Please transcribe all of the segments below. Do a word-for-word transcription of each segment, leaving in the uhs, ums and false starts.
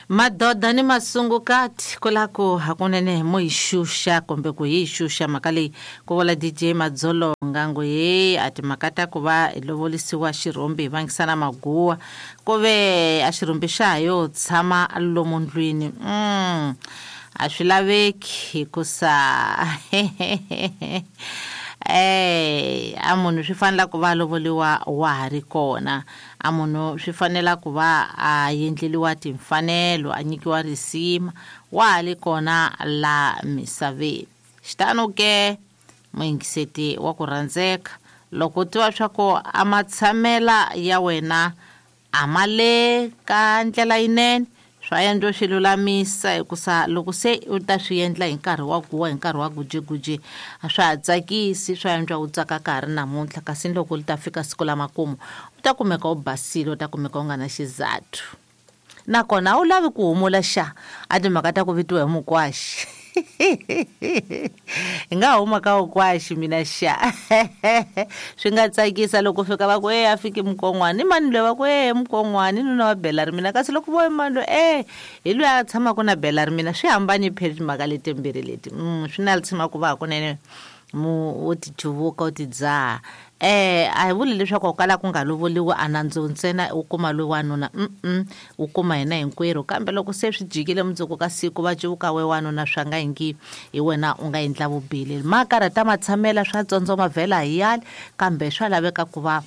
Madoda ni masungukati ku la ku hakunene mo yi xuxa kumbe ku hi xuxa mhaka leyi ku vula D J Madzolonga ngo he a timhaka ta ku va hi lovolisiwa xirhombi hi vangisana maguwa ku ve a xirhombi xa ha yo tshama lomu ndlwini mm a swi laveki hikusa eh a munhu swi fanela ku va lovoliwa wa ha ri kona a munhu swi fanela ku va a endleliwa timfanelo a nyikiwa risima wa ha ri kona la misaveni. Xitano ke muyingiseti wa ku rhandzeka loko u tiva swa ku a matshamela ya wena a ma le ka ndlela yinene swa endla swi lulamisa hikusa loko se u ta swi endla hi nkarhi wa guwa hi nkarhi wa gujiguji a swa ha tsakisi swa endla u tsaka ka ha ri namuntlha kasi loko li ta fika siku la makumu u ta kumeka u basile u ta kumeka u nga na xizathu nakona a wu lavi ku humula xa a timhaka ta ku vitiwa hi mukwaxi hi nga huma ka ukwaxi mina xa swi nga tsakisa loko fika va ku e a fiki mukon'wana i mani loyi va ku e mukon'wana i nuna wa bela ri mina kasi loko vo i mani loyi e hi loyi a tshamaka na bela ri mina swi hambani phela timhaka letimbirhi leti mm, swi na tshama ku va hakunene mu u ti cuvuka u ti dzaha eh a hi vuli leswaku u kala ku nga lovoliwi a nandzu ntsena u kuma loyi wanuna mm u kuma hina hinkwerhu kambe loko se swi jikile mundzuku ka siku va cuvuka we wanuna swa nga ingi hi wena u nga endla vubihi ma karhata matshamela swa tsondzoma vhela hi yale kambe swa laveka ku va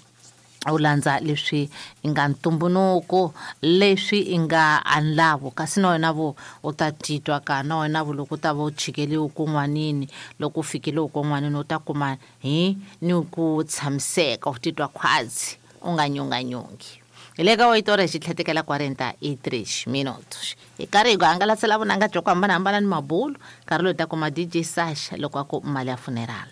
u landza leswi i nga ntumbuluko leswi i nga anlavo kasi na wena vo u ta titwa ka na wena vo loko u ta va u chikeliwe kun'wanini loko u fikile kun'wanini u ta kuma hi ni ku tshamiseka u titwa khwazi u nga nyunganyungi. Hi le ka oito horas xitlhetekela quarenta e três minutos hi karhi hi ku hangalasela vunanga bya ku hambanahambana ni mabulu nkarhi lowu hi ta kuma D J Sasha loko a ku mali ya funeral.